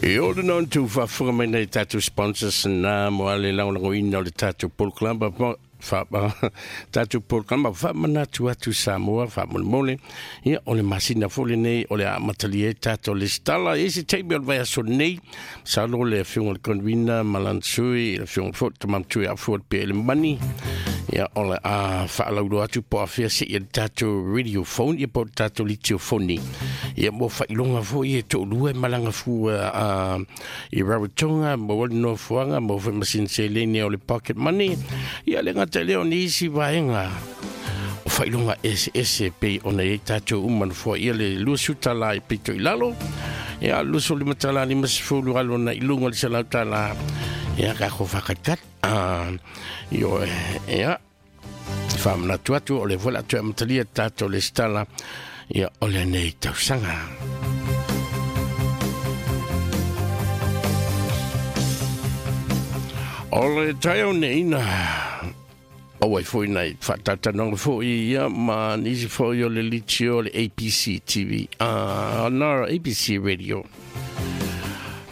E o le non tu faafofoga mai nai tatou sponsors na mo ale lagolagoina o le tatou polokalama fa tatou polokalama faamanatu atu Samoa faamolemole. Ia o le masina foi lenei o le a amatalia ai tatou lesitala i se taimi o le vaiaso nei. Masalo le afioga i le convener ma lana sui, le afioga foi le Tama Matua ia Afua Pia Mani. Ia o le a faalauiloa atu po o afea seia le tatou radio phone ia po o le tatou litiofoni. Ia mo faailoga foi e toalua e malaga fua i Rarotonga, maua le nofoaga, maua foi ma sina seleni o le pocket money. Ia le gata i lea o nisi vaega o faailoga eseese pei ona i ai tatou uma nofoa ia le $20 i pito i lalo. Ia $25 50 alo na i luga o le $100. Ia kako whakatkat. Io ia whaamanatu atu o le vola atu e amatalia tatou lesitala ia o lenei tausaga. O le taeao nei na o ai foi nei whaatatanoga foi ia ma nisi foi o le litio o le ABC TV, na ABC Radio.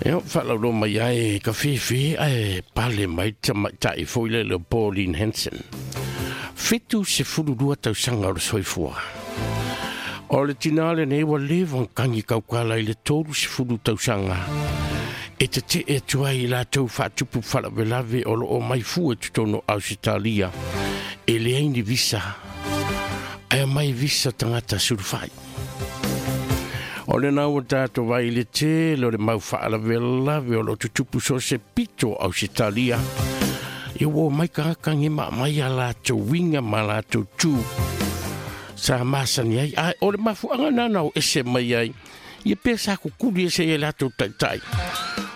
Ia, whaalaulo mai ai ka whiwhi ai pale mai tamaitai foi le le Pauline Hanson. 72 tausaga o le soifua. O le tina lenei ua leva ona kagi kaukala i le 30 tausaga. E tetee atu ai i latou faatupu faalavelave o loo mai fua i totonu o Ausetalia. E leai ni visa. Ae mai visa tagata sulufai. O lena ua tatou vaai i le tele o le mau faalavelave o loo tutupu so o se pito o Ausetalia. Ia ua omai tagata ge ma aumai a latou uiga ma latou tu sa masani ai. Ae o le mafuaaga lena na o ese mai ai. Ia pea sa kukuli ese ai latou taitai.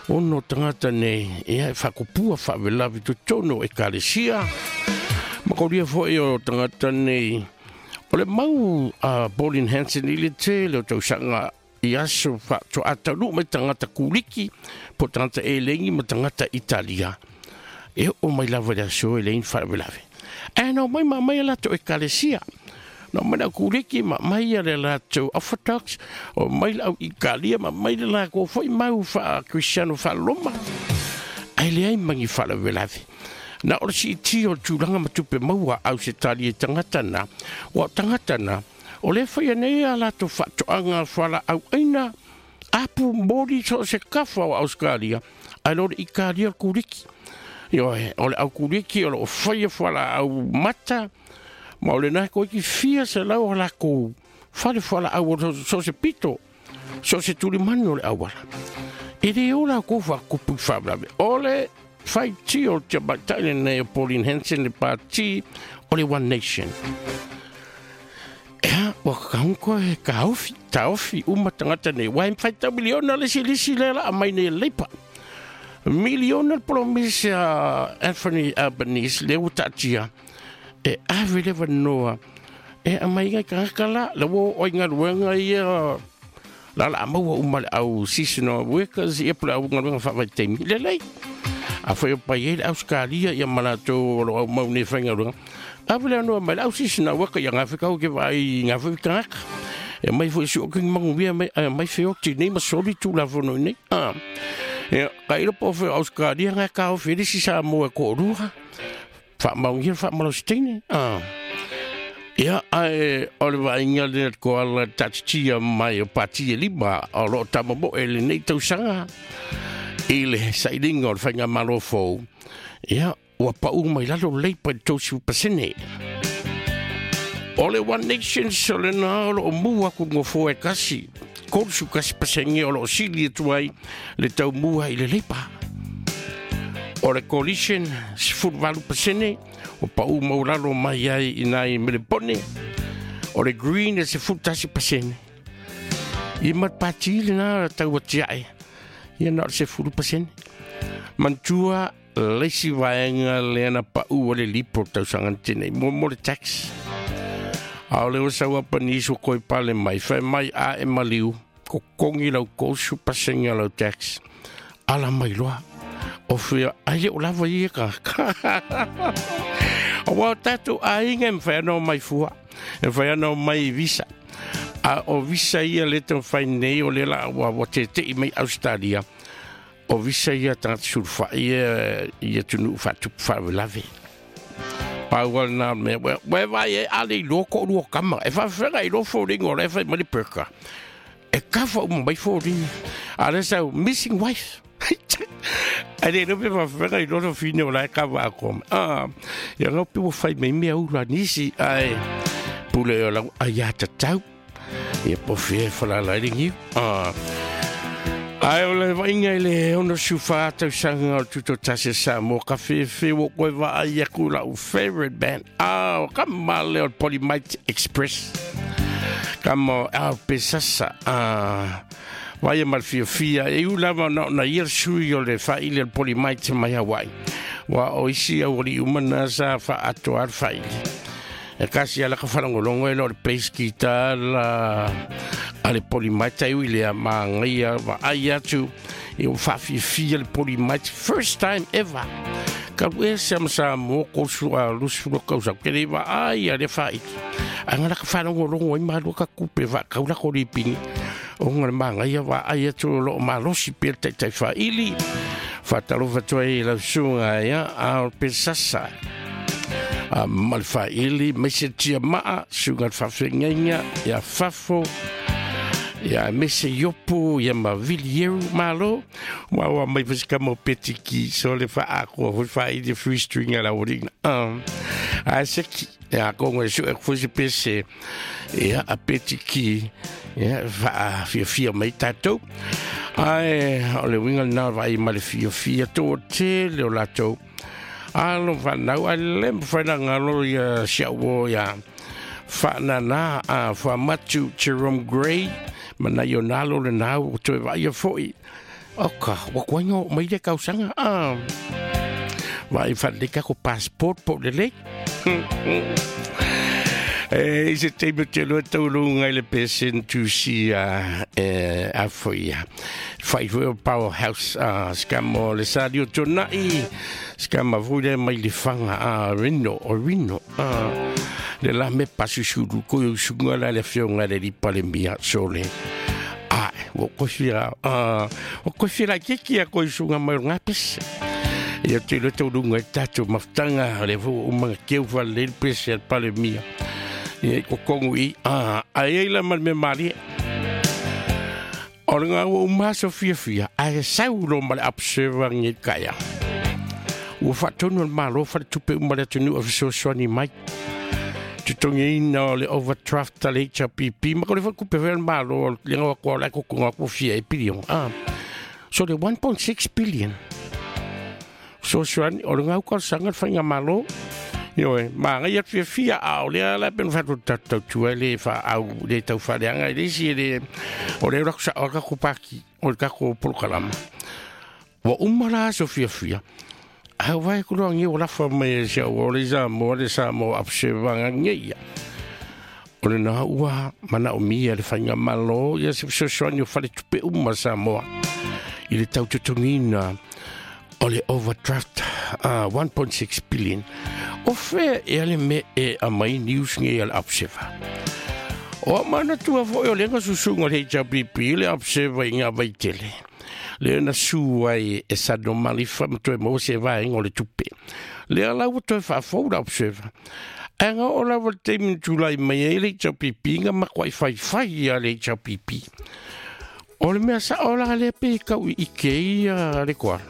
Ono tagata nei, ia e faakupua faalavelave i totonu o ekalesia. Ma kolia foi o tagata nei. O le mau a Pauline Hanson i le tele o tausaga i aso faatoa taunuu mai tagata kuliki po o tagata elegi ma tagata Italia. E oo mai lava i le aso e leai ni faalavelave. Ae na omai ma aumai a latou ekalesia. Na omai le au kuliki ma aumai le latou Orthodox, o mai le au Italia ma aumai le latou foi mau faa-Kristiano faa-Roma. Ae leai ma ni faalavelave. Na o le siitia o le tulaga ma tupe maua a Ausetalia i tagata na, ua o tagata na, o lea e faia nei a latou faatoaga fualaau aina, apu moli so o se kafa o Ausetalia, ae lo le Italia o le kuliki. Ioe, o le au kuliki o loo faia fualaau mata, ma o lena toeiti fia selau o latou fale fualaau o so o se pito, so o se tulimanu o le auala. E le o latou faatupu i faalavelave. O le faitio o le tamaitai lenei o Pauline Hanson le pati o le One Nation. Ea, ua kakahunga e taofi, taofi uma tagata nei. Ua e faitau miliona le isi lisi lea la aumai nei e le Leipa. Miliona le promise a Anthony Albanese lea ua taatia e ave le avanoa e aumai ai tagata la, la ua oo ai galuega ia la la maua uma le au seasonal workers ia po le au galuega faavaitaimi. Lelei. Afai o pai ai le Ausetalia ia ma latou o lo o aumau nei faigaluega, ave le avanoa mai le au seasonal worker ia gafe kau ke vaai i ngā foi tagata. E mai foi si o kingi manuia mai, ai mai feoti nei ma soli tulafono i nei. Ia, ka ilo po foi o Ausetalia ngā ka ofi le si Samoa e ko'olua. Faamaonia le faamalosi teine. Ia, ae o le vaaiga lea le koala taatitia mai o pati e lima o loo tamamoe lenei tausaga i le sailiga o le faigamalo fou. Ia, ua pau mai lalo le Leipa i le 30%. O le One Nation o lena o loo mu atu le nofoa e tasi, 31% o loo sili atu ai le taumua i le Leipa. O le Coalition, 18%, o pau maulalo mai ai i nai Melepone. O le Green e 11%. Ia ma le pati lena tau atiae, ia na o le 10%. Manatua le isi vaega lea na pau o le lipo tausaga na tenei, mo le tax. A o le ua sau Albanese ua toe pale mai, fai mai a e maliu, totogi lau 30% o lau tax. Ala mai loa. O fea, ai le o lava ia tagata. Aua o tatou aiga e mafai ona omai fua, e mafai ona omai i visa. A o visa ia lea e taumafai nei o lea la ua tetei mai Ausetalia. O visa ia tagata sulufai ia i atunuu faatupu faalavelave. Pau lava lena o le mea, ua e vaai ai a le iloa toalua tama, e faafefea ona iloa foliga o la e fai mai le burqa. E cover uma mai foliga. A o lea sau, missing wife. Ae le iloa pe faafefea ona iloa le fafine o la e cover atoa mai. Ah, ia lau pe ua fai mai mea ula a nisi, ae pule o lau aiatatau. Ia po fea e falala ai le niu. Ah. Ae o le vaaiga i le 64 tausaga o le Tutoatasi a Samoa, ka fefe ua koe vaai aku lau favorite band. Ah, o ka male o le Polymite Express. Ka mo ah, pe sasa. Ah, vaia ma le fiafia. E u lava na ona ia le sui o le faili o le Polymite mai Hawaii. Wa o isi au ali uma na sa faatoa le faili. E kasi ala ka whalongolongo e lo le bass guitar la a le Polymite ai ui lea māngaia wa ai atu i o whaafiafia le Polymite first time ever. Ka ue se ama sa mō kōsu a lusu lo kausa ke le wa ai a le whaiti. A ngala ka whalongolongo ai malua ka kupe wa kaula ko lipingi. O ngala māngaia wa ai atu o lo malosi pe le taitai whaili. Whatalofa tua i lau sunga ia a o pe sasa. A ma le faili mai se tia maa suga le faafeagaiga ia fafo ia mese iopu ia ma vilieru malo ua ua mai foi se kama o petiki so le faakoa foi faili free string a la orina a se ki ia kongo e sue foi se pese ia a petiki ia faafiafia mai tatou ae o le uiga lena o le vaai ma le fiafia toatele o latou Alo fanau ai le mafai na ngalo ia si au o ia whaanana a whamatu Jerome Gray mana i o nalo le nau o toe vaia foi. Oka, wa kuainga o mai le kausanga. Ah, vai whaleka ko passport po le lei. E i se taimi o te loa taulunga i le pesen tusi a e a foi ia. Whai foi o Powerhouse a skamo le sali o tonai skama foi le mai le whanga a Rino o Rino a le la me pasusuru ko i usunga la le fionga le lipa le mia sole. A o koe whira a o koe whira kiki a koe usunga mai o ngā pese. Ia te loa taulunga i tātou mafutanga le fo umanga keu whale le pese al pale mia. Ia i kokongu i, a, ai ai la ma le mea malie. O le ngā ua uma aso fiafia, ae sau lo ma le observer ngi kaia. Ua whaatonu le malo whale tupe uma le atunuu a fesoasoani mai. Totogiina o le overdraft a le HRPP, ma ko le whakupe whea le malo, le ngawa kua lai kokonga kua fia e pilion. Ah, so le 1.6 billion. Fesoasoani, o le ngau talosaga le faigamalo, ioe, manaia le fiafia, a o lea la pe na fai atu tautua le faaau le tau faaleaga i le isi e le o le ula sao o le tatou paki o le tatou polokalama. Ua uma la aso fiafia, ae ua vaai atu loa nei ua lafa mai e si au o le Samoa le Samoa Observer nei ia. O lena ua manaomia le faigamalo ia se fesoasoani o faletupe uma Samoa i le tau totogiina o le overdraft 1.6 billion. O fea ea le mea e aumai news nei a le Observer? O au manatua foi o lea na susuga o le HRPP le Observer i ngā vaitele. Lea na su ai e Sano Malifa ma toe maua se vaega o le tupe. Lea la ua toe faafou le Observer. Ae na oo lava le taimi na tulai mai ai le HRPP na matuai faifai ia le HRPP. O le mea sao la lea pe kau i ike ia le koala.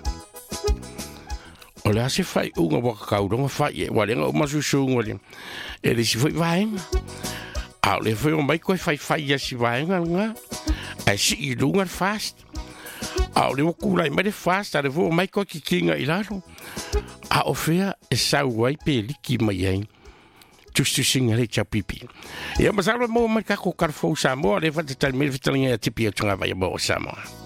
O le a se faaiuga ua kakauloga fai e, ua le na uma susuga le, e le isi foi vaega. A o le foi o mai koe faifai ia si vaega lena, ae sii i luga le fast. A o le ua tulai mai le fast, a le foi o mai koe kikiga i lalo. A o fea e sau ai pe liki mai ai. Tusitusiga le HRPP. Ia masalo e maua mai le tatou Tala Fou Samoa, lea e faatatali mai le fetalaiga ia Tipi o Togavai mo Samoa.